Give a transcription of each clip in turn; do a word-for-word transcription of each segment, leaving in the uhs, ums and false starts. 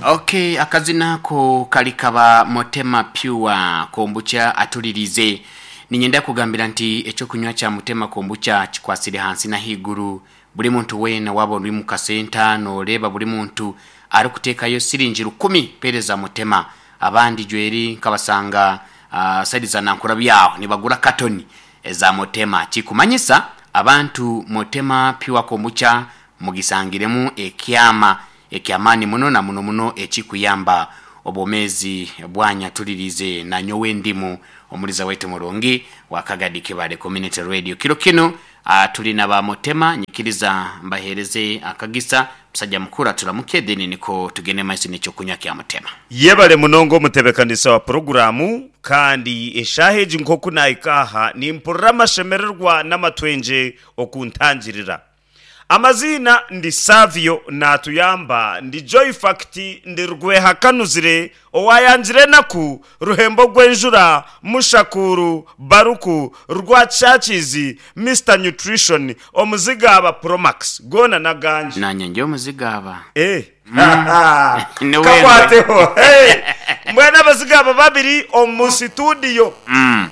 Okay, akazina ako kali kaba Motema Pure Kombucha atulirize. Ninyenda kugambira nti ekyokunywa kya Mutema Kombucha kikwasire hansi na higuru. Buli muntu weena waba ori mu kasenta noreeba buli muntu arikuteekayo siringi rukumi pereza Mutema. Abandi jweri nkabasanga uh, saidi za Nankura byaho nibagura katoni eza Mutema. Kikumanyisa abantu Mutema Pure Kombucha mugisangiremu ekyama ekyamaani muno na muno muno ekikuyamba obwomezi bwanya tulirize na nyowe ndimu omuliza waitu murungi wa Kagadi Kibale Community Radio. Kiro kino uh, tulina ba Mutema nyikiriza mbahereze akagisa musajja mukuru aturamuke then niko tugende maiso n'ekyokunywa kya Mutema. Yebale munongo omutebekanisa wa poroguramu, kandi eshaaha egi nk'oku naahika nimpurira amashemererwa n'amatwengye okuntangirira. Amazina ndi Savio natuyamba, ndi Joy Fact, ndi Rwehakanuzire owayangire enaku, Ruhembo rw'enjura, Mushakuru Baruku Rwachachizi, Mister Nutrition, omuzigaba Promax gona naganje. Nanye nje omuzigaba. Eh. Mm. Kakwateho. Hey. Mbwena abazigaba babiri omu studio. Mm.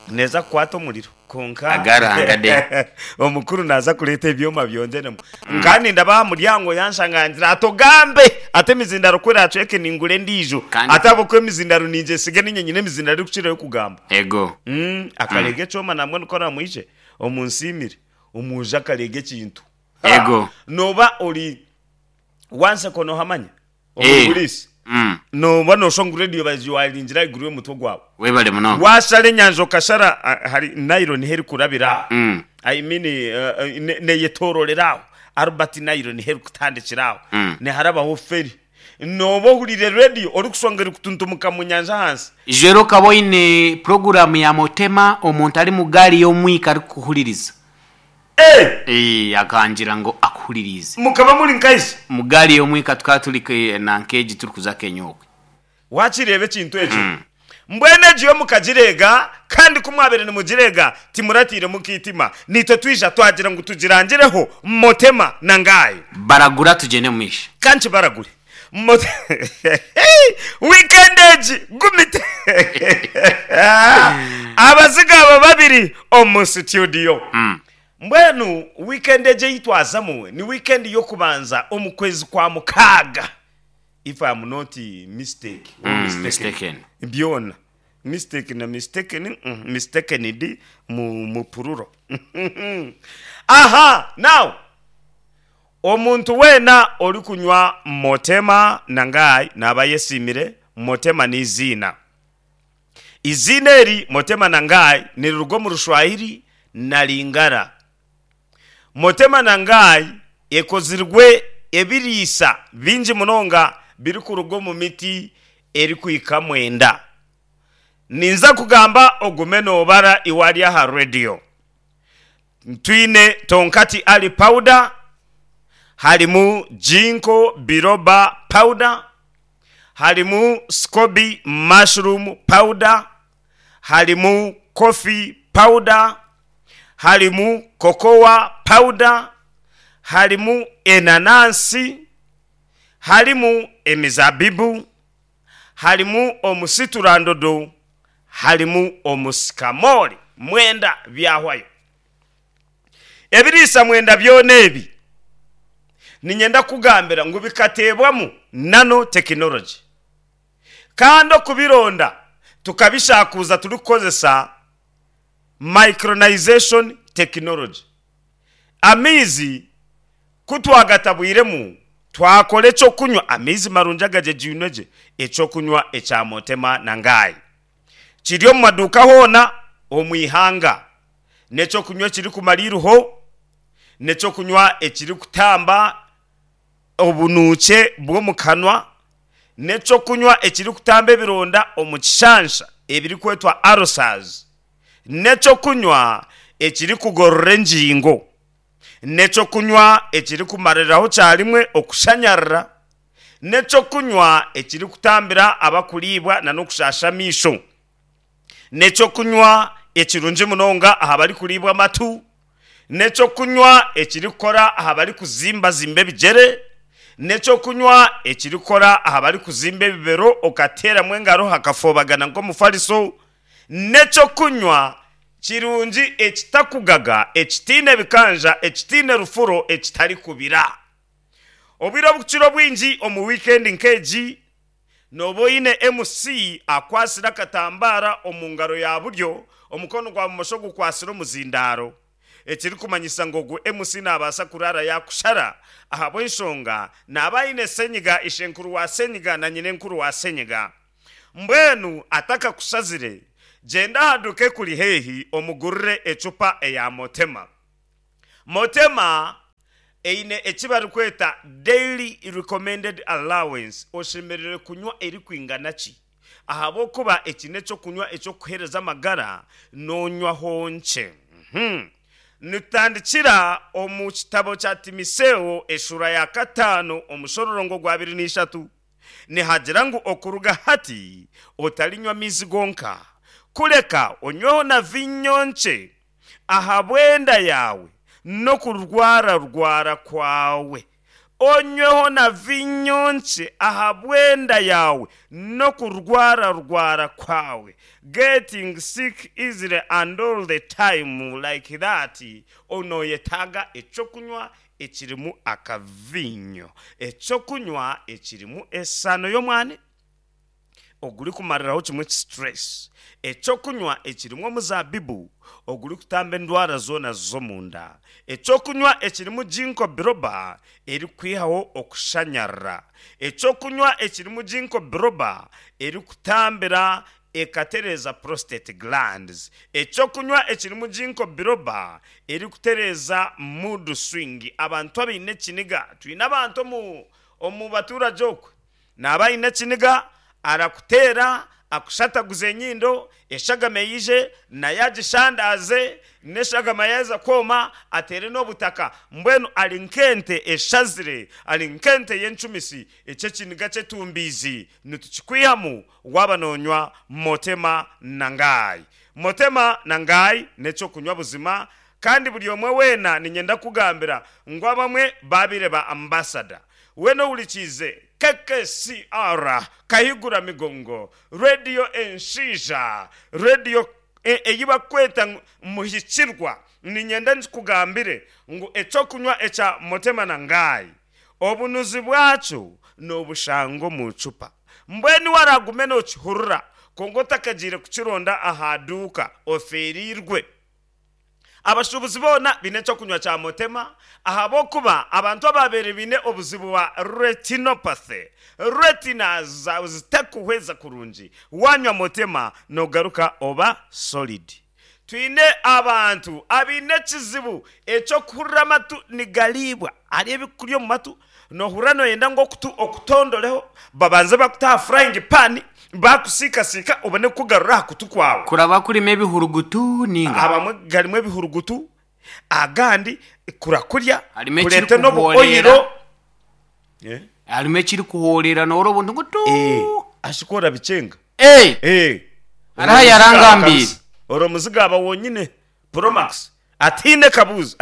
Neza kukwata omuriro. Konka agarangade. Omukuru naza kuleta ebyoma byongeremu. Nkandi ndabaha muryango yanshangangira atogambe ate emizindaro kwera acweke ningure endiijo. Kandi- Ate abokwe emizindaro ninje sige ninye nyine emizindaro erikukirayo kugamba. Ego. Mm, akarega ekyoma namwe niko namwije omunsimire omuja akarega ekintu. Ego. Noba ori wanse kono hamanya Eh. omugurisi. Mm. Noba noshonga radio bajiwaringira iguru y'omutwe gwawe. Webale muno. Washara enyanja okashara ah, hari nylon heri kurabira. Mm. I mean uh, uh, ne- neyetororeraho Albert nylon heri kutandikiraho. Mm. Neharabaho feri. Noba ohurire radio orikushonga eri kutuntumuka mu nyanja hansi. Jero kaboine programu ya Mutema omuntu ari mu gari y'omwika arikuhuririza. Eh, Eh, akangira ngo akuhuririze. Mukaba muri nkaisi. Mu gari y'omwika tukaba turi ke- na nkeji turi kuza kenyokwe. Wakireba ekintu ekyo. Mbwene egiyo mukagirega kandi kumwabere nimugirega timuratire mukitima. Nitwe twija twagira ngu tugirangireho Mutema na ngaye. Baragura tugende mwisha. Kanchi baragure. Mote weekend egi gumite. Abazigaba babiri omu studio. Mm. Mbwenu weekend egi eyitwazamu ni weekend y'okubanza omu kwezi kwa mukaaga. If I am not mistake or Mm, mistaken. mistaken. Byona mistake na mistaken, mm, mistaken di mu, mu pururo. Aha, now omuntu weena ori kunywa Mutema nangai naba yesimire. Mutema ni izina. Izina eri Mutema nangai niriruga omu Rushwahiri na Lingara. Mutema nangai ekozirwe ebiriisa bingi munonga birikuruga omu miti erikuhika mwenda. Ninza kugamba ogume nobara iwari aha radio. Twine tonkati ali powder, harimu jinko biroba powder, harimu scoby mushroom powder, harimu coffee powder, harimu cocoa powder, harimu enanansi, harimu emizabibu, harimu omusiturandodo, harimu omusikamori. Mwenda byahwayo. Ebiriisa mwenda byona ebi ninyenda kugambira ngu bikateebwamu nano technology, kandi okubironda tukabishakuza turikukozesa micronization technology. Amaizi kutwagatabwiremu twakora ekyokunywa, amaizi marungi agagyegyinwe gye, ekyokunywa ekya Mutema na ngayi kiri omu maduuka hoona omu ihanga, n'ekyokunywa ekirikumara iruho, n'ekyokunywa ekirikutamba obunuukye bw'omu kanwa, n'ekyokunywa ekirikutamba ebironda omu kishansha ebirikwetwa ulcers, n'ekyokunywa ekirikugorora engingo, n'ekyokunywa ekirikumariraho kyarimwe okushanyarara, n'ekyokunywa ekirikutambira abakuriibwa na n'okushasha amaisho, n'ekyokunywa ekirungi munonga aha barikuriibwa amatu, n'ekyokunywa ekirikukora aha barikuzimbazimba ebigyere, N'ekyokunywa ekirikukora aha barikuzimba ebibero, okateeramu engaro hakafobagana nk'omufariso. N'ekyokunywa kirungi ekitakugaga, ekitiine bikanja, ekitiine rufuro, ekitarikubira. Obwire obukukira obwingi omu wiikendi nk'egi, nooba oine M C akwasire akatambara omu ngaro ya buryo, omukono gwa bumosho gukwasire omuzindaaro, ekirikumanyisa ngu ogu M C naabaasa kuraara yakushara, ahabw'enshonga naaba aine senyiga ishenkuru wa senyiga na nyinenkuru wa senyiga. Mbwenu atakakushazire, gyenda aha duuka ekuri haihi omugurire ecupa eya Motema. Motema eine eki barikweta daily recommended allowance, oshemerere kunywa erikwingana ki, ahabw'okuba eki n'ekyokunywa ekyokuheereza amagara noonywaho nkye. Mhm. Nitutandikira omu kitabo kya Timiseo eshura ya kataano omushororongo gwa abiri n'ishatu, nihagira ngu okuruga hati otarinywa amaizi gonka, kureka onyweho na vinyo nkye ahabw'enda yaawe n'okurwararwara kwawe. Onyweho na vinyo nkye ahabw'enda yawe n'okurwararwara kwawe, getting sick easily and all the time like that. Onoyetaaga ekyokunywa ekirimu akavinyo, ekyokunywa ekirimu esano y'omwani ogurikumariraho kimwe stress, ekyokunywa ekirimu omuzabibu ogurikutamba endwara zoona z'omunda, ekyokunywa ekirimu ginkgo biloba erikwihaho okushanyarara, ekyokunywa ekirimu ginkgo biloba erikutambira ekatereeza prostate glands, ekyokunywa ekirimu ginkgo biloba erikutereeza mood swing, abantu abaine ekiniga. Twine abantu omu omu baturage okwe naaba aine ekiniga, arakuteera, akushataguza enyindo, eshagama eyije naye agishandaze, n'eshagama yaza kwoma ateere n'obutaka. Mbwenu ari nk'ente eshazire, ari nk'ente y'encumisi. Ekyo ekiniga kyetumbiizi nitukikwihamu waaba noonywa Motema Nangai. Motema Nangai n'ekyokunywa buzima, kandi buri omwe weena ninyenda kugambira ngu abamwe baabire ba ambassador. Weena ohurikiize K K C R Kahigura Migongo Radio, enshiija radio ei bakweta ngu muhikirwa, ninyenda nkikugambire ngu ekyokunywa ekya Motema Nangai obunuzi bwakyo n'obushanga omu cupa. Mbwenu waragume nookihurira, konka otakagiire kukironda aha duuka, ofeerirwe. Abashuubuzi boona baine ekyokunywa kya Motema, ahabw'okuba abantu ababeire baine obuzibu bwa retinopathy, retina zawe zitakuhweza kurungi, wanywa Motema nogaruka oba solid. Twine abantu abaine ekizibu ekyokuhurira amatu nigariibwa, hari ebikuri omu matu nohurira noyenda ngu okutu okutondoreho, babanze bakuta aha frying pan, bakusiikasiika, obone kukugarura aha kutu kwawe. Kuraba kurimu ebihurugutu ninga? Abamwe garimu ebihurugutu, agandi kurakurya Harimu kureete ekirikuhoorera. N'obuoyiro. Harimu ekirikuhoorera noora obuntu ngu tu. Ashikora bichenga. Eh, Eh, hariho yarangambiire. Ori omuzigaba wonyine Promax atiine kabuuzo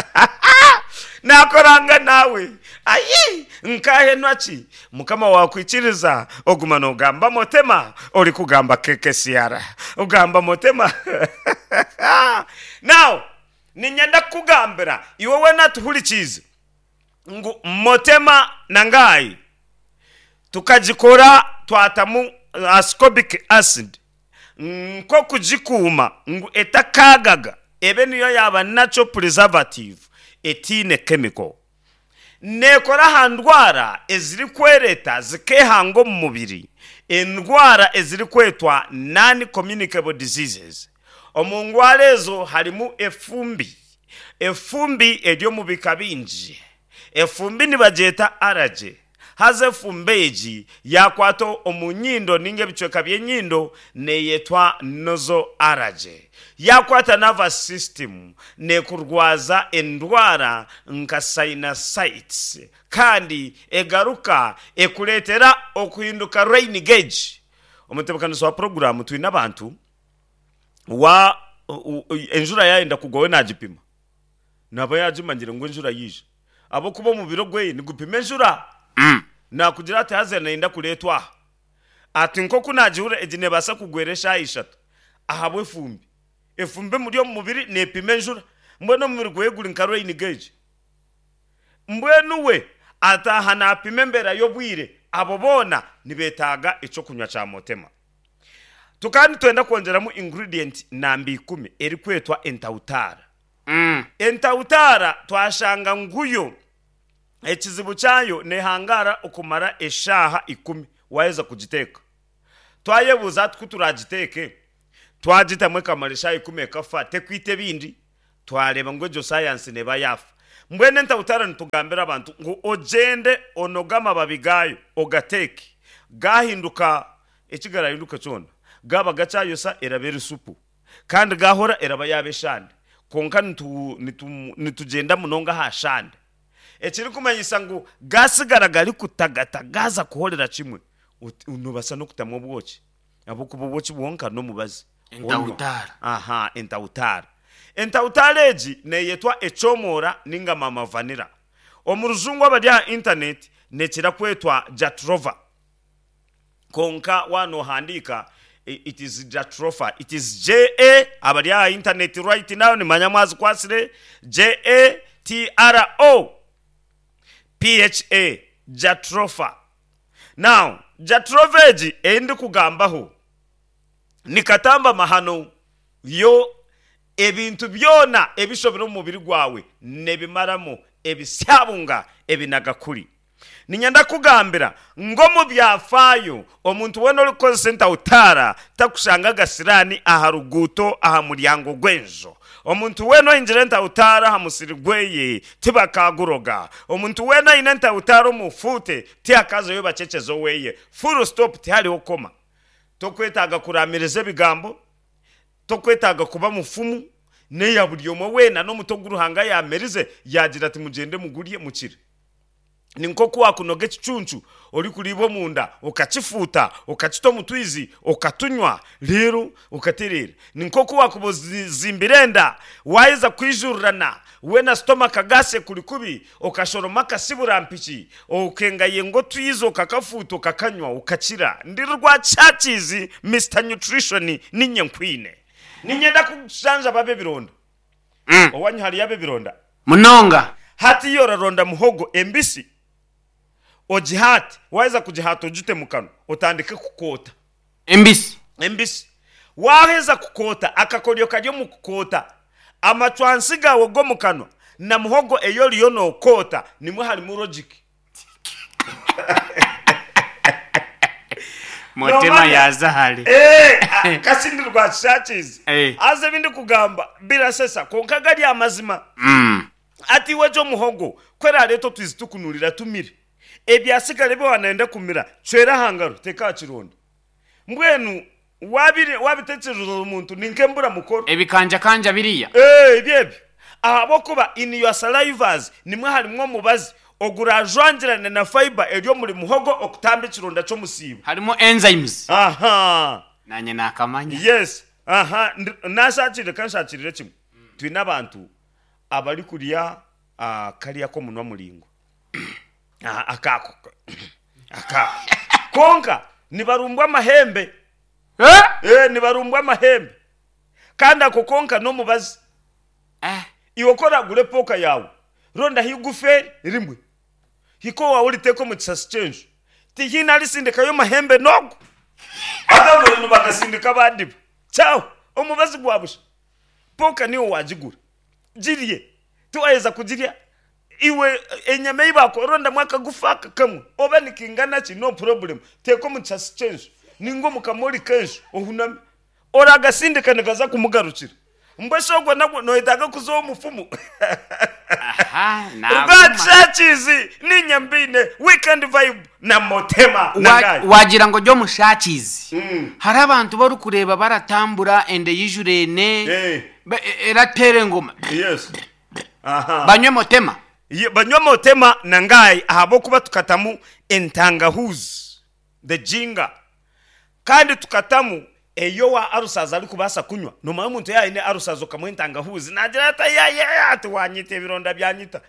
nakoranga nawe ayi nkahenwa ki mukama wakwikiriza oguma nogamba Motema, ori kugamba K K C R, ogamba Motema. Now ninyenda kukugambira iwe wena tuhurikiize ngu Motema Nangai tukagikora twatamu ascorbic acid nk'okugikuuma ngu etakagaga, ebe niyo yaba natural preservative etiine chemical. Neekora aha ndwara ezirikwereta zikehanga omu mubiri, endwara ezirikwetwa non communicable diseases. Omu ndwara ezo harimu efumbi. Efumbi eri omu bika bingi. Efumbi nibagyeta allergy, haza efumbi egi yakwata omu nyindo ninga ebicweka by'enyindo neyetwa nasal allergy, yakwata nervous system nekurwaza endwara nka sinusitis, kandi egaruka ekureetera okuhinduka rain gauge. Omutebekanisi wa poroguramu, twine abantu wa u- u- enjura yayenda kugwa, we nagipima, naba yagimanyire ngu enjura yiija, ahabw'okuba omubiri ogweye nigupima enjura. Mm. Nakugira ati haza nayenda kureetwa aha ati nk'oku nagihurira egi neebaasa kugwera eshaaha ishatu ahabw'efumbi. Efumbi emuri omu mubiri neepima enjura, mbwenu omubiri gwe guri nka rain gauge. Mbwenu we ataaha naapima embeera y'obwire, abo boona nibeetaaga ekyokunywa kya Motema. Tukaba nitwenda kwongyeramu ingredient namba ikumi erikwetwa entautaara. Mm. Entautaara twashanga ngu yo ekizibu kyayo neehangaara okumara eshaaha ikumi waaheza kugiteeka. Twayebuuza hati ku turaagiteeke twagitamu ekamara eshaaha ikumi ekafa tekwita ebindi? Twareeba ngu egyo sayansi neeba yaafa. Mbwenu entautaara nitugambira abantu ngu ogyende onoge amababi gaayo ogateeke, gaahinduka eki garaahinduke kyona, gaaba gakyayosa eraba eri supu kandi gaahora eraba yaaba eshande. Kwonka nitu nitu nitugyenda munonga aha shande. Ekirikumanyisa ngu gaasigara garikutagata gaaza kuhorera kimwe, noobaasa n'okutamu obwoki ahabw'okuba obwoki bwonka n'omubazi. Onywa. Entautaara. Aha, entautaara. Entautaara egi neeyetwa ekyomora ninga mama vanilla. Omu rujungu abari aha intaneti neekira kwetwa jatropha. Kwonka waaba noohandiika it is jatropha. It is J A, abari aha intaneti right now nimanya mwazikwatsire, J A T R O P H A, jatropha. Now jatropha egi ei ndikugambaho ni katamba mahano, yo ebintu byona ebishobire omu mubiri gwawe nebimaramu ebisyabunga ebinagakuri. Niinyenda kukugambira ngu omu byafaayo omuntu weena orikukozesa entautaara takushanga agasiraani aha ruguuto aha muryango gw'enju. Omuntu weena ohingira entautaara aha musiri gweye tibakaaguroga. Omuntu weena aine entautaara omu fuute tihakaazayo bakyekyezo oweye. Full stop, tihariho koma. Tokwetaaga kuraamiriza ebigambo, tokwetaaga kuba mufumu, n'eya buri omwe weena n'omuti ogu Ruhanga yaamerize yaagira ati mugyende mugurye mukire. Ni nk'oku waakunoga ekicuncu orikuriibwa omunda okakifuuta okakita omu twizi okatunywa reero okatereera. Ni nk'oku waakuba ozimbire enda waaheza kwijurirana weena stomach gas ekuri kubi okashoroma akasiburampiki okengayenga otwizi okakafuuta okakanywa okakira. Ndi Rwakyakiizi Mister Nutrition niinye nkwine. Niinyenda kujanjaba ab'ebironda. Mm. Owaanyu hariyo ab'ebironda? Munonga. Hati iwe oraronda muhogo embisi ogihaate, waaheza kugihaata ogite mu kanwa otandike kukoota. Embisi. Embisi. Waaheza kukoota, akakoryo kari omu kukoota, amacwansi gaawe g'omu kanwa na muhogo ei oriyo nookoota nimwo harimu logic. Motema Noomanya? yaaza hare. Eh, a- kasi ndi Rwakishakiizi. Eh. Haza ebi ndikugamba birashesha kwonka gari amazima. Mm. Ati iwe gye omuhogo ku eraareete otwizi tukunurira tumire, ebyatsigara ebi waaba kumira cwera aha ngaro teeka aha kironda. Mbwenu waabire waabitekyereza omuntu ni nk'embura mukoro. Ebikanjakanja biriya. Ee, ebyo ebyo. Ahabw'okuba in your salivas nimwo harimu omubazi oguraajwangirane na fibre eri omuri muhogo okutamba ekironda ky'omusiibo. Harimu enzymes. Aha. Naanye naakamanya. Yes. Aha. Ndi- Naashakirire ka nshakirire kimwe. Twine abantu abarikurya ah, kariya k'omunwa muraingwa. Ah, akako. Akako. Kwonka nibarumbwa amahembe. Eh? Eh, nibarumbwa amahembe. Kandi ako konka n'omubazi. Eh. Iwe ku oraagure epooka yaawe, rondaho igufa rimwe, hika owaawe oriteeke omu kisasi ky'enju. Tihaine arisindikayo mahembe n'ogwo. Haza mbwenu bakasindika abandi bo. Kyaho, omubazi gwa busha. Pooka niiwe waagigura. Girye. Tiwaaheza kugirya, iwe enyama ei baakuha rondamu akagufa aka kamwe, oba nikaingana ki, no problem, teeka omu kisasi ky'enju nainga omu kamoori k'enju ohuname. Oragasindika nigaza kumugarukira. Mbwenu shi ogwo nagwo noyetaaga kuza ow'omufumu? Aha, naaguma. Rwakishakiizi niinye mbaine Weekend Vibe na Motema na Wa- Ngayi. Wagira ngu ori omushakiizi. Mm. Hariho abantu bu orikureeba baratambura enda eyijurene Eh. ba- e- erateera engoma. Yes. Aha. Banywe Motema. Ye- Banywe Motema na Ngayi ahabw'okuba tukatamu entangahuzi, the ginger. Kandi tukatamu ei owa arusazi arikubaasa kunywa. Noomanya omuntu yaaba aine arusazi okamuha entangahuuzi naagira ati ayayaya ati waanyita ebironda byanyita.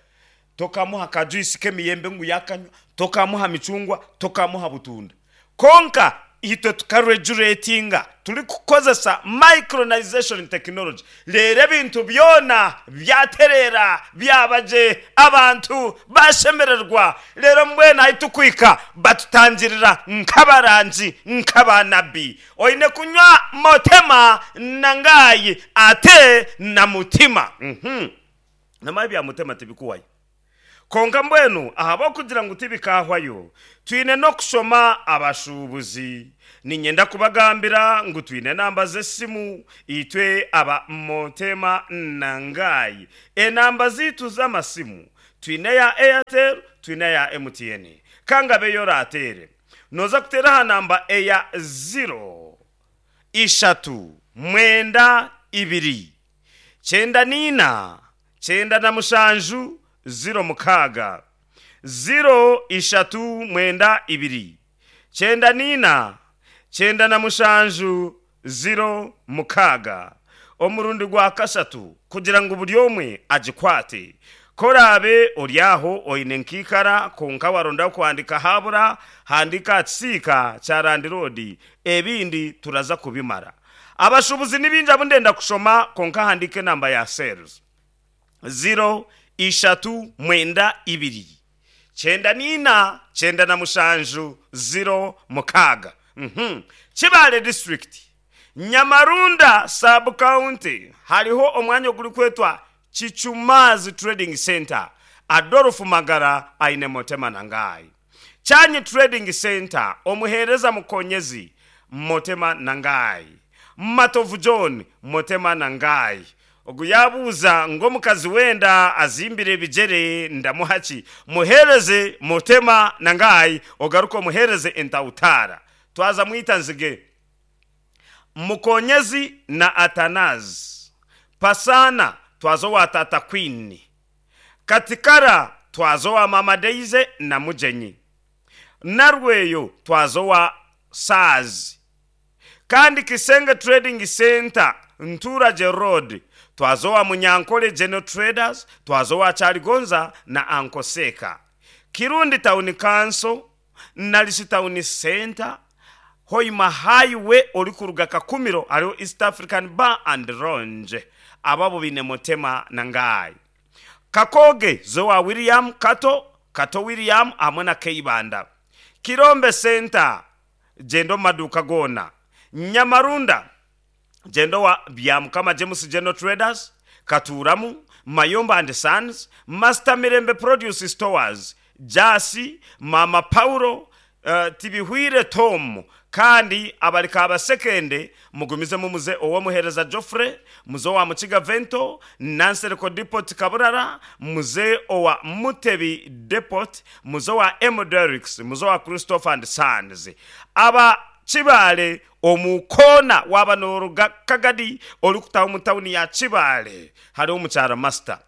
Tokamuha ka juice k'emiyembe ngu yaakanywa, Tokamuha micungwa, tokamuha butunda. Konka itwe tukaregulatinga turi kukozesa micronization technology. Rero ebintu byona byaterera, byabaje, abantu bashemererwa. Rero mbwenu ahi tukwika batutangirira nk'abarangi, nk'abanabi. Oine kunywa Motema Nangayi ate na mutima. Mhm. Namaye bya Mutema tibikuwayo. Konka mbwenu ahabw'okugira ngu tibikahwayo, twine n'okushoma abashuubuzi. Ninyenda kubagambira ngu twine namba z'esimu itwe aba Motema Nangayi. Enamba ziitu z'amasimu twine ya Airtel, twine ya M T N. Kangabe yoratere, noza kutera aha namba eya zero ishatu mwenda ibiri kyenda nina kyenda na mushanju zero mukaaga, zero ishatu mwenda ibiri kyenda nina kyenda na mushanju zero mukaaga. Omurundi gwa kashatu kugira ngu buri omwe agikwate. Korabe ori aho oine nkiikara, konka waronda kuhandika habura, handika akisiika kya landlord, ebindi turaza kubimara. Abashubuzi nibingi abu ndenda kushoma, konka handika enamba ya sales: zero ishatu mwenda ibiri kyenda nina kyenda na mushanju zero mukaaga. Mhm. Kibale District, Nyamarunda Sub County, hariho omwanya oguri kwetwa Kichumazi Trading Center. Adolfu Magara aine Motema Nangayi. Chanyi Trading Center, omuhereza Mukonyezi, Motema Nangayi. Matovu John, Motema Nangayi. Ogu yabuuza ng'omukazi wenda azimbire ebigere ndamuhaki? Muhereze Motema Nangayi, ogaruka omuhereze entautara. Twaza mwita nzige Mukonyezi na Atanazi Pasana, twazo wa Tata Queen. Katikara, twazo wa Mama Deize na Mugenyi. Narweyo, twazo wa Sazi. Kandi Kisenge Trading Center, Nturage Road, twazo wa Munyankole General Traders, twazo wa Chaligonza na Ankoseka. Kirundi Town Council, Nalisi Town Center, Hoima Highway ori kuruga Kakumiro, hariho East African Bar and Lounge. Ababo bine Motema Nangayi. Kakoge, zowa William Kato, Kato William hamwe na Keibanda. Kirombe Center, jendo maduka gona. Nyamarunda, jendo wa Byamukama James General Traders, Katuramu, Mayomba and Sons, Master Mirembe Produce Stores, Jasi, Mama Paulo, uh, Tibihwire Tom. Kandi abalika abasekende mugumizemu muze owomuhereza Joffrey, muze owa Mukiga Vento, Nansereko Depot Kaburara, muze owa Mutebi Depot, muze owa M Derricks, muze owa Christopher and Sons. Aba Kibaale omukona waba noruga Kagadi orikutaha omu tawuni ya Kibaale, hariho omukyara Master.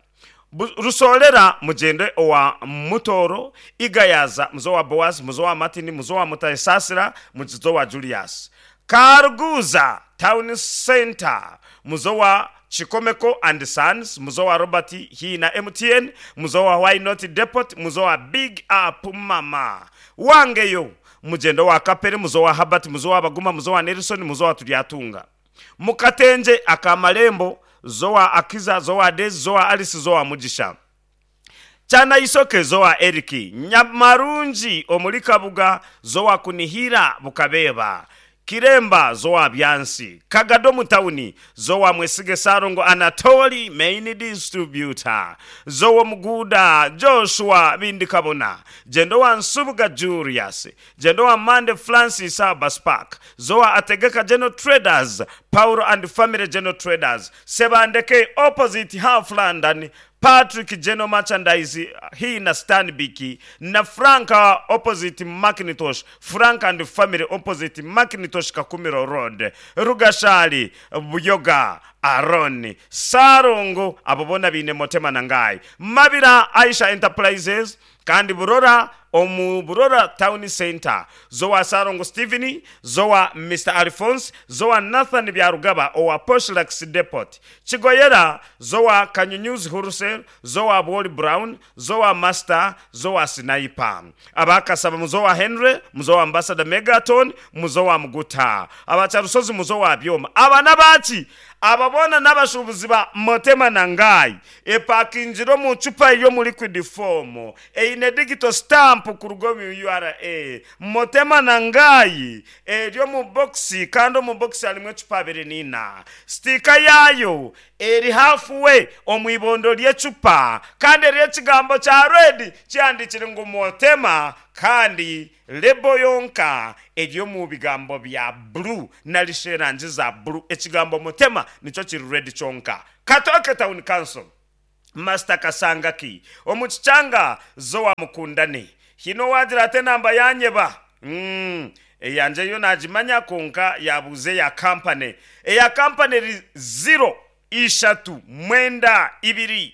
Bu- rusolera mugende owa Mutoro. Igayaza, muzo wa Boaz, muzo wa Martin, muzo wa Mutaisasira, muzo wa Julius. Karuguza Town Center, muzo wa Chikomeko and Sons, muzo wa Robert hii na M T N, muzo wa Why Not Depot, muzo wa Big Up Mama wangeyo. Mugendo wa Kapere, muzo wa Habert, muzo wa Baguma, muzo wa Nelson, muzo wa Turyatunga. Mukatenje akamalembo, zowa Akiza, zowa Dezi, zowa Alice, zowa Mugisha. Kyana Isoke, zowa Eriki. Nyamarungi omuli Kabuga, zowa Kunihira Bukabeba. Kiremba, zowa Byansi. Kagado mu tawuni, zowa Mwesige Sarongo Anatoli main distributor, zowa Muguda Joshua Bindi Kabona, jendo wa Nsubuga Julius, jendo wa Mande Francis Abbas Park, zowa Ategeka General Traders, Paulo and Family General Traders. Sebandeke opposite Half London, Patrick General Merchandise hii na Stanbic na Franka opposite Macintosh, Frank and Family opposite Macintosh, Kakumiro Road. Rugashali Buyoga. Aaron Sarongo, abo boona baine Motema Nangai. Mabira Aisha Enterprises kandi Burora omu Burora Town Center, zowa Sarongo Steven, zowa Mister Alphonse, zowa Nathan Byarugaba owa Poshlax Depot. Kigoyera zowa Kanyunyuzi Wholesale, zowa Wally Brown, zowa Master, zowa Sniper. Abakasaba muzowa Henry, muzowa Ambassador Megaton, muzowa Muguta. Abacharusozi muzowa Byoma. Abana baki ababona n'abashubuzi ba Motema Nangai epakingiro mu cupa yo mu liquid form eine digital stamp ku rugo mu U R A. Motema Nangai eryo mu box, kandi omu box harimu ecupa abiri n'ina. Sticker yayo eri halfway omu ibondo ry'ecupa, kandi eriyo ekigambo kya red kyandikire ngu Motema, kandi label yonka eri mu bigambo bya blue narishi erangi za blue. Ekigambo Motema nikyo kiri red kyonka. Katoke Town Council, Master Kasangaki. Omu Kikyanga zowa Mukundane. Hino wagira ate namba yanyeba mm. eyanje yo nagimanya, konka yabuze ya kampani. Eya kampani eri zero ishatu mwenda ibiri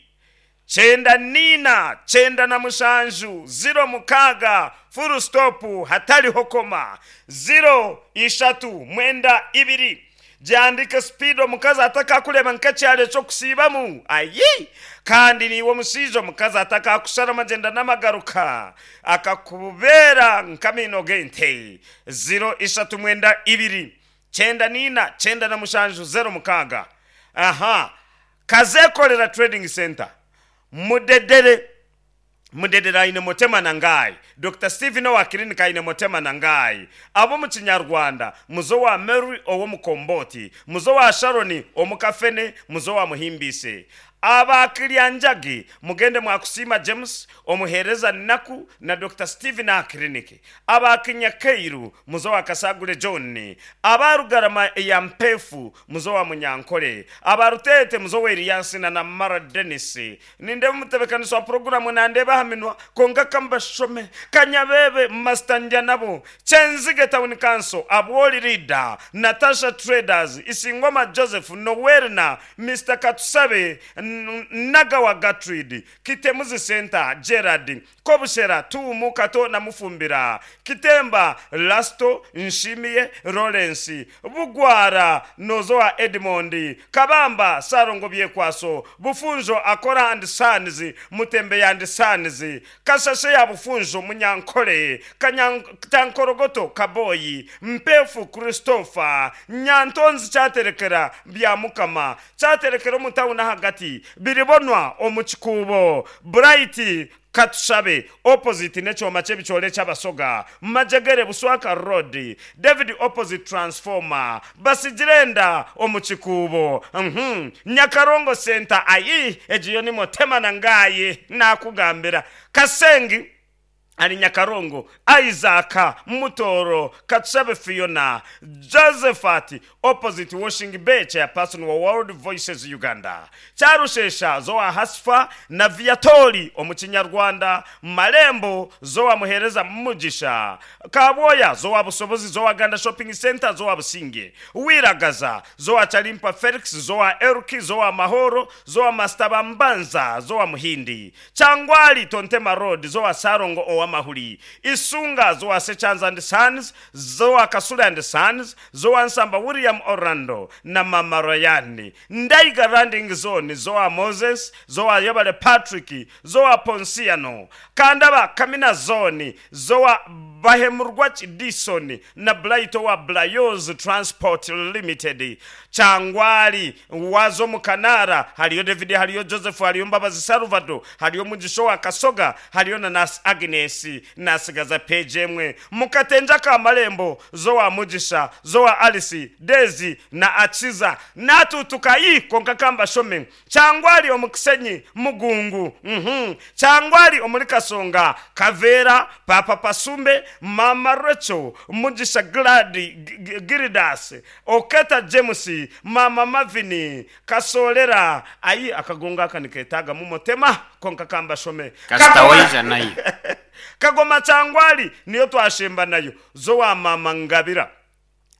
cyenda nina cyenda na mushanju zero mukaga, full stop, hatariho koma. Zero ishatu mwenda ibiri. Gyandike speed, omukazi atakakureba nk'ekyaro ekyokusiibamu. Ayi, kandi niiwe omushaija, omukazi atakakushara amagyenda n'amagaruka, akakubera nk'amaino g'ente. Zero ishatu mwenda ibiri cyenda nina cyenda na mushanju zero mukaaga. Aha Kazekolera Trading Center, Mudedere. Mudedere aine Motema Nangai. Doctor Stephen owa clinic aine Motema Nangai. Abo mu Kinyarwanda, muzo wa Mary owomukomboti, muzo wa Sharoni omukafene, muzo wa Muhimbise. Abakiryanjagi mugende mwakusima James omuhereza naku na Doctor Stephen a clinic. Abakinyakeiru muzo wa Kasagule John. Abarugarama ya Mpefu muzo wa Munyankole. Abarutete muzo wa Eliasina na Mara Dennis. Ninde mutebekanisi wa programu nandeba haminwa konga kambashome Kanyabebe Master nabo. Kyenzige Town Council, Abwoli Leader, Natasha Traders, Isingoma Joseph Nowerna, Mister Katusabe, N- Nagawa Gatrid, Kitemuzi Center, Gerard Kobushera, Tuumu Kato na Mufumbira, Kitemba Lasto, Nshimiye Lawrence, Bugwara Nozoa Edmond, Kabamba Sarongo Byekwaso, Bufunjo Akora and Sons, Mutembe and Sons, Kasase ya Bufunjo Munyankole, Kanyankorogoto Kaboyi, Mpefu Christopher, Nyantonzi Cyaterekera bya Mukama, Cyaterekera omutawuni hagati, Biribonwa omukikuubo, Bright Katushabe opposite n'ekyoma ky'ebikyole ky'Abasoga, Majegere Buswaka Road, David opposite transformer, Basigirenda omukikuubo, mhm Nyakarongo Center. Ayi, egiyo ni Motema Nangaye nakugambira. Kasengi ali Nyakarongo, Isaka Mutoro, Katsabe Fiona, Josephat opposite Washing Bay, chairperson wa World Voices Uganda, Cyarushesha zowa Hasfa na Viatori omukinyarwanda, Malembo zowa Muhereza Mugisha, Kaboya zowa Busobozi, zowa Ganda Shopping Center, zowa Businge, Wiragaza zowa Chalimpa Felix, zowa Eruki, zowa Mahoro, zowa Mastabambanza, zowa Muhindi, Changwali Tontema Road, zowa Sarongo owa Mahuli, Isunga zowa Sechans and Sons, zowa Kasula and Sons, zowa Nsamba William Orlando na Mama Royani, Ndaiga Landing Zone, zowa Moses, zowa Yobale Patrick, zowa Ponsiano, Kandaba Kamina Zone, zowa Bahemurwach Dison na Blaito wa Blayos Transport Limited, Changwali wazo Mukanara, haliyo David, haliyo Joseph, haliyo Mbabazi Salvador, haliyo Mugisho wa Kasoga, haliyo na Nas Agnes. Nasigaza peje emwe. Mukatenja ka Malembo, zowa Mugisha, zowa Alice Dezi na Achiza natutukayi konka kamba shome. Changwali omukisenyi Mugungu, mhm Changwali omuli Kasonga, Kavera Papa Pasumbe, Mama Rachel Mugisha, Gladi Giridas, Oketa James, Mama Mavini Kasolera. Ayi, akagonga akaniketaga mumotema konka kamba shome. Kasitawaija nayo. Kagoma Changwali niyo twashemba nayo, zowa Mama Ngabira.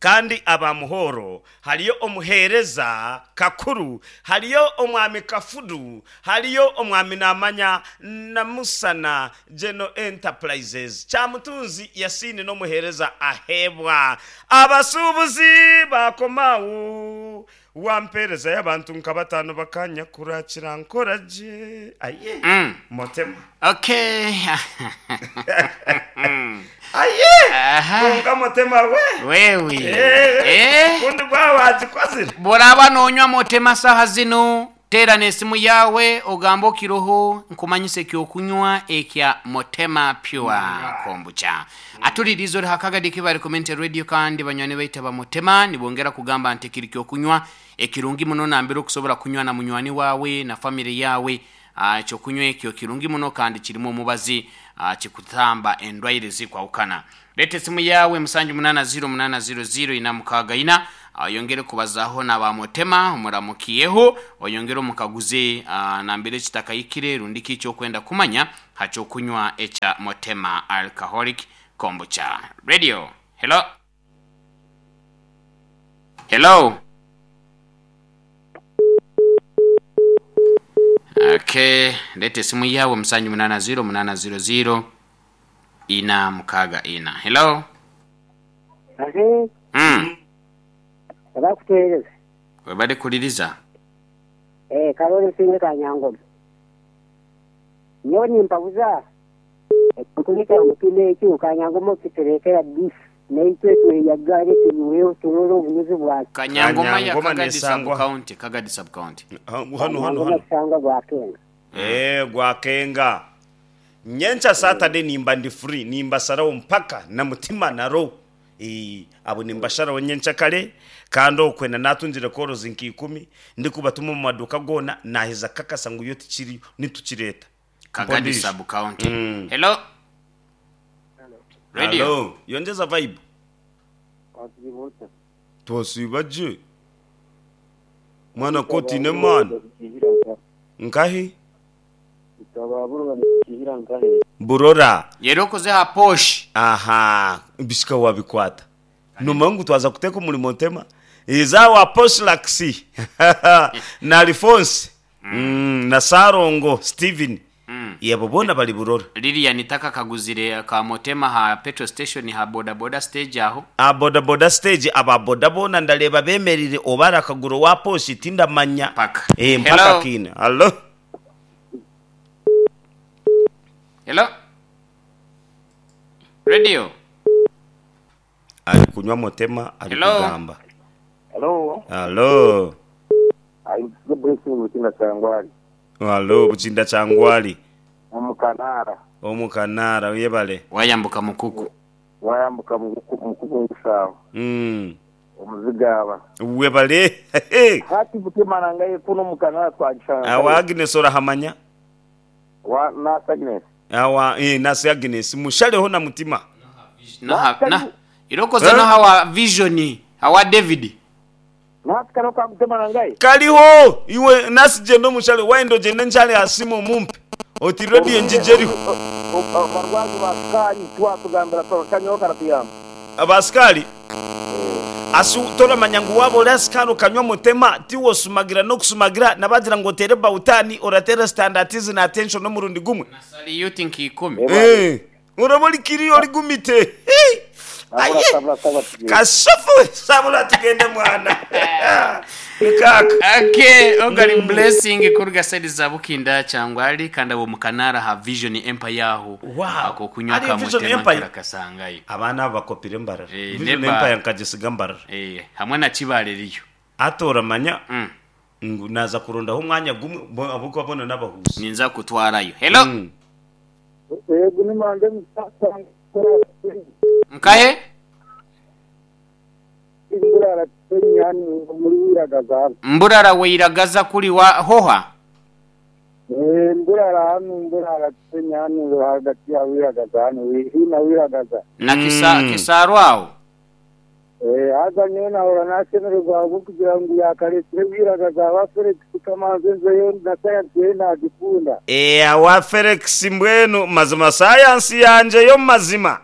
Kandi abamuhoro hariyo omuhereza kakuru, hariyo omwami Kafudu, hariyo omwami Namanya na Musana General Enterprises. Kyamutunzi Yasini n'omuhereza ahebwa. Abasuubuzi bakomawo wampereza y'abantu nka batano bakanya kurakira nkoraje aye. Mm. Motema. Okay. Aye. Aha. Konka motema we. Wewe. Eh, Eh. kundi gwawe wagikozire. Boraba nonywa motema saha zino, tera n'esimu yawe ogamba okiroho nkumanyisa ekyokunywa ekya Motema Pure Kombucha. Atulirizo ori hakagadi kibari community radio, kandi banywani baita ba Motema nibongera kugamba nti kiri kyokunywa ekirungi muno nambere okusobola kunywa na munywani wawe na family yawe. Ah, ekyokunywa ekyo kirungi muno kandi kirimu omubazi, ah, kikutamba endwaire zikwawukana. Leta esimu yawe musanju munana ziro munana ziro ziro ina mukaaga ina, oyongere kubazaho na ba Motema omuramukiyeho, oyongere omukaguze, ah, nambere kitakayikire rundi ki ekyokwenda kumanya hakyokunywa ekya Motema Alcoholic Kombucha. Radio. Hello. Hello. Okay, leta esimu yawe musanju munana ziro munana ziro ziro ina mukaaga ina. Hello. Ate Mm. abakuteereza. Webale kuliriza. Eh, Karoli Nsinge Kanyangoma. Nyowe nimpabuza ekintu kya Mutema ekyo Kanyangoma okitureetera beef naitwe tweyagale tunyweho turore obunuzi bwakyo. Kanyangoma ya Kanyangoma Kagadi sub nesangwa. county, Kagadi sub county. Hano hano Kanyangoma hano. kisangwa gwakenga. Eh, gwakenga. Nyencha Saturday nimba ndi free, nimba sarawo mpaka na mutima naro. Eh, abo nimba sharawo nyencha kale kandi okwenda natungire korozi nka ikumi ndikubatuma mu maduka gona naheza kakasa ngu yo tikiri nitukireta. Kagadi Mpondisha. sub county. Mm. Hello. Radio. Hello. Yongeza vibe. Twasibaje. Mwana koti ne man. Nkahi? Burora. Yero koze ha posh. Aha, bishika wabikwata. Numangu twaza kuteka omulimo ntema. Izawa Poslaxi na Alphonse mm, na Sarongo Steven. Mm. Yebo bona bali Burora. Lilian itaka kaguzire ka Motema ha petrol station ha boda boda stage aho. A boda boda stage aba boda bona ndareba bemerire obara akaguru wa poshi tindamanya. Paka. Eh, mpaka Hello. kina. Hello. Hello. Radio. Ali kunywa Motema ali Hello. kugamba. Hello. Hello. I'm the blessing Buchinda Changwali. Hello Buchinda Changwali. Omukanara. Omukanara uyebale. Wayambuka mukuku. Wayambuka mukuku ngusawo. Mm. Omuzigaba. Webale. Hati Butima nangaye kuno mukanara twagishanga. Awa Agnes orahamanya. Wa nasi Agnes. Awa eh nasi Agnes mushaleho na mutima. No ha, Na- na irokoze Eh? no hawa vision hawa David. Nasi kano ka Butima nangaye. Kaliho iwe nasi jendo mushale waendo jende nchale asimu mumpe. Oti radio njijeriho. Abarwazi ba sukari twatugambira kanyoka karatuyamba. Abasikali asu toramanya ngu waba ori asikari okanywa Mutema tiwe osumagira n'okusumagira nabagira ngu otere bautani oratere standardize na attention n'omurundi gumwe. Salute nkikumi. Eh, uraba ori kiri ori gumite. Hey! Sabura Aye! sabura sabura tugende. Kashafu sabura tugende mwana. Nikaka. Okay, ogari blessing kuruga side za Bukinda Changwali kandi abo mukanara ha Vision Empire aho. Wow. Ako kunywa Ari ka Vision Motema Empire? kira kasangayo. Abaana abo bakopire mbarara. Eh, Vision neba- Empire nkagisiga mbarara. Eh, hamwe na Kibale riyo. Atoramanya Mm. ngu naza kurondaho omwanya gumwe bo- ahabw'okuba bona n'abahuzi. Ninza kutwarayo. Hello. Mm. Yego ni manje musanga. Nkahe? Ingurara tenyani muri wiragaza. Mburara weiragaza kuri wa hoha. Eh, mburara hano mburara tenyani hagati ya wiragaza hano hino wiragaza. Na kisa Mm. kisaro aho. Eh, haza nyowe nahora nashemererwa ahabw'okugira ngu yakareetire wiragaza aba Felix Kamanzi nzeyo na sayansi ye nagikunda. Eh, awa Felix mbwenu mazima sayansi yanje yo mazima.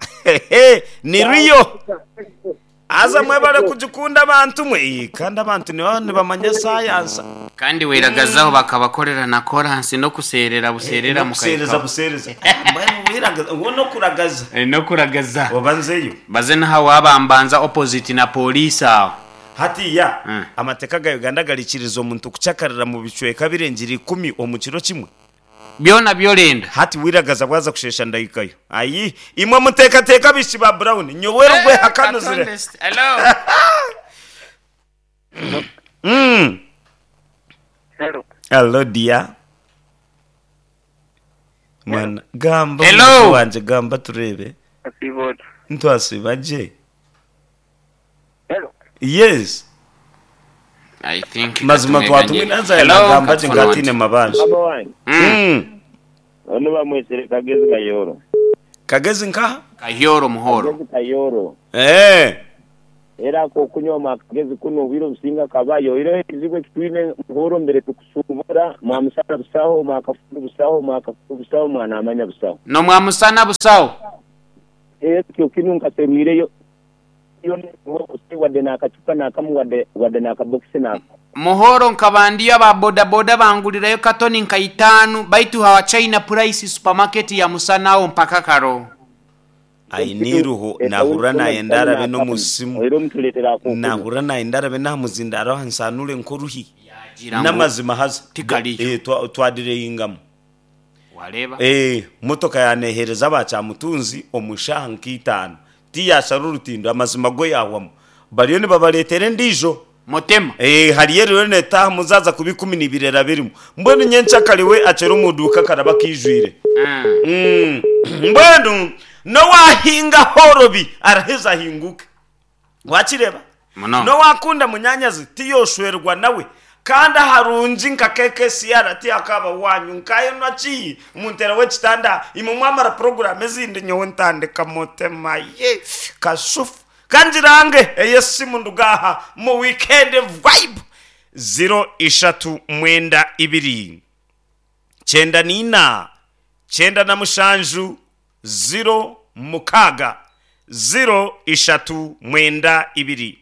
Ni riyo. Aza mwebale kugikunda abantu mwe. Ii, kandi abantu nibo nibamanya sayansa. Kandi weragazaho bakabakorera na koransi no kuserera buserera Nokuseereza mukaika. Buseereza. Mbwenu wiragaza uwo no kuragaza. Eh, no kuragaza. Oba nzeyo. Baze naha wabambanza opposite na polisi aho. Hatiya Mm. amateeka ga Uganda garikiriza omuntu kucakarira mu bicweka birengire ikumi omu kiro kimwe. Byona byorenda. Hati wiragaza bwaza kushesha ndahikayo. Ayi imwe muteekateeka bishi ba Brown nyowe rugwe hakanuzire. Hello. Mm. Hello. Hello dear. Mwana gamba. Hello. Omuntu wanje gamba turebe. Asibot. Ntwasiba gye. Hello. Yes. I think Mazima katumeganye. twatumwe naza Hello, nagamba gye Katufuna ngatine wanje. mabanja. Baba wange. Mm. Mm. Ono bamwesere Kagezi Kayoro. Kagezi nkaha? Kahyoro muhoro. Kagezi Kayoro. Eh. Era ako okunywa akagezi kuno obwire obusinga kabayo era ekizibu ekitwine muhoro mbere tukusubura mwamusana busaho mwakafundu busaho mwakafundu busaho mwanamanya busaho. No mwamusana busawo. Ekyo kinu nkaseruireyo yo wadde n'akacupa n'akamu wadde wadde n'akabokisi n'ako. Muhoro nkabandiyo aba bodaboda bangulirayo katoni nka itaanu baitu hawa China Price supermarket ya musanawo mpaka karo. Ainiruho nahura nayenda arabe n'omusimu. Era omutuleetera akokunywa. Nahura nayenda arabe namuzinda araho nsanure nkoruhi. Yagira ngo N'amazima haza. Tikaliyo. Eh twa- twadireyingamu. Wareba. Eh motoka yanehereza abakyamutunzi omushaha nk'itaano. Tiyashara orutindo amazima go yahwamu. Bariyo nibabareetera endiijo. Motema. Eh hariyo rero netaha muzaza kuba ikumi n'ibiri birimu. Mbwenu nyencakariwe acera omuduuka karaba kijwire. Mm. Mm. Mbwenu nowahinga horobi araheza ahinguke. Wakireba? Muno. Nowakunda munyanyazi tiyoshwerwa nawe. Kandi aharungi nka K K C R tiyakaba wanyu nkayo naki muntera w'ekitanda imwe mwamara program ezindi nyowe ntandika mutema ye kashufu kangirange eyesimu ndugaha mu weekend vibe zero ishatu mwenda ibiri cyenda nina cyenda na mushanju zero mukaga zero ishatu mwenda ibiri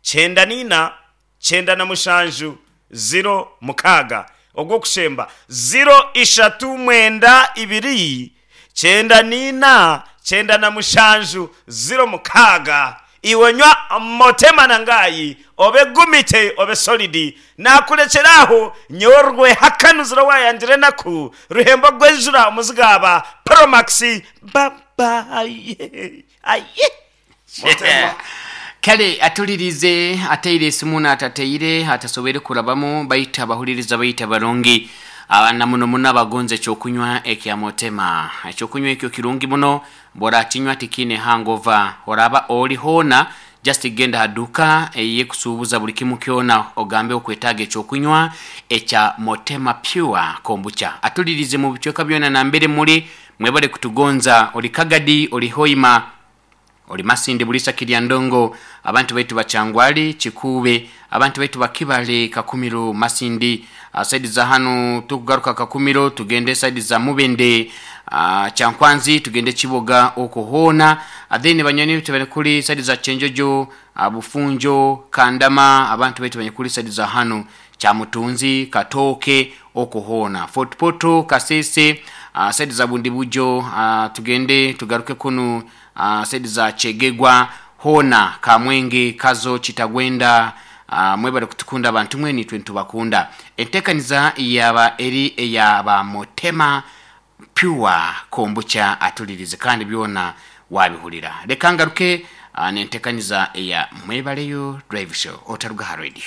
cyenda nina cyenda na mushanju zero mukaga ogwo kushemba zero ishatu mwenda ibiri cyenda nina cyenda na mushanju zero mukaga. Iwe nywa motema nangayi obe gumite obe solidi nakurekeraho nyorwe hakanuzira wayangire naku ruhembo gwejura omuzigaba Promax babaye aye motema. Kale atulirize ateire esimu n'atateire atasobere kurabamu baita abahuliriza baita barungi abana muno muno abagonza ekyokunywa ekya motema. Ekyokunywa ekyo kirungi muno bw'orakinywa tikine hangover oraba ori hoona just genda haduka eyekusuubuza buli kimu kyona ogambe okwetaaga ekyokunywa ekya Motema Pure Kombucha. Atulirize mu bicweka byona nambere muri mwebale kutugonza oli Kagadi oli Hoima oli Masindi Bulisa Kirya Ndongo abantu baitu bachangwali Chikube abantu baitu bakibale Kakumiro Masindi uh, saidi za hano tukugaruka Kakumiro tugende saidi za Mubende uh, Chankwanzi tugende Chiboga okuhona uh, then banyoni baitu bali kuri saidi za Chenjojo uh, Bufunjo Kandama abantu baitu bali kuri saidi za hano Chamutunzi Katoke okuhona Fort Poto Kasese uh, saidi za Bundibujo uh, tugende tugaruke kunu uh, saidi za Chegegwa hona Kamwenge Kazo Kitagwenda uh, mwebale kutukunda abantu mwe nitwe ntubakunda. Entekaniza yaba eri eyaba Motema Pure Kombucha atulirize kandi byona wabihulira. Reka ngaruke uh, nentekaniza eya Mwebaleyo Drive Show otaruga ha radio.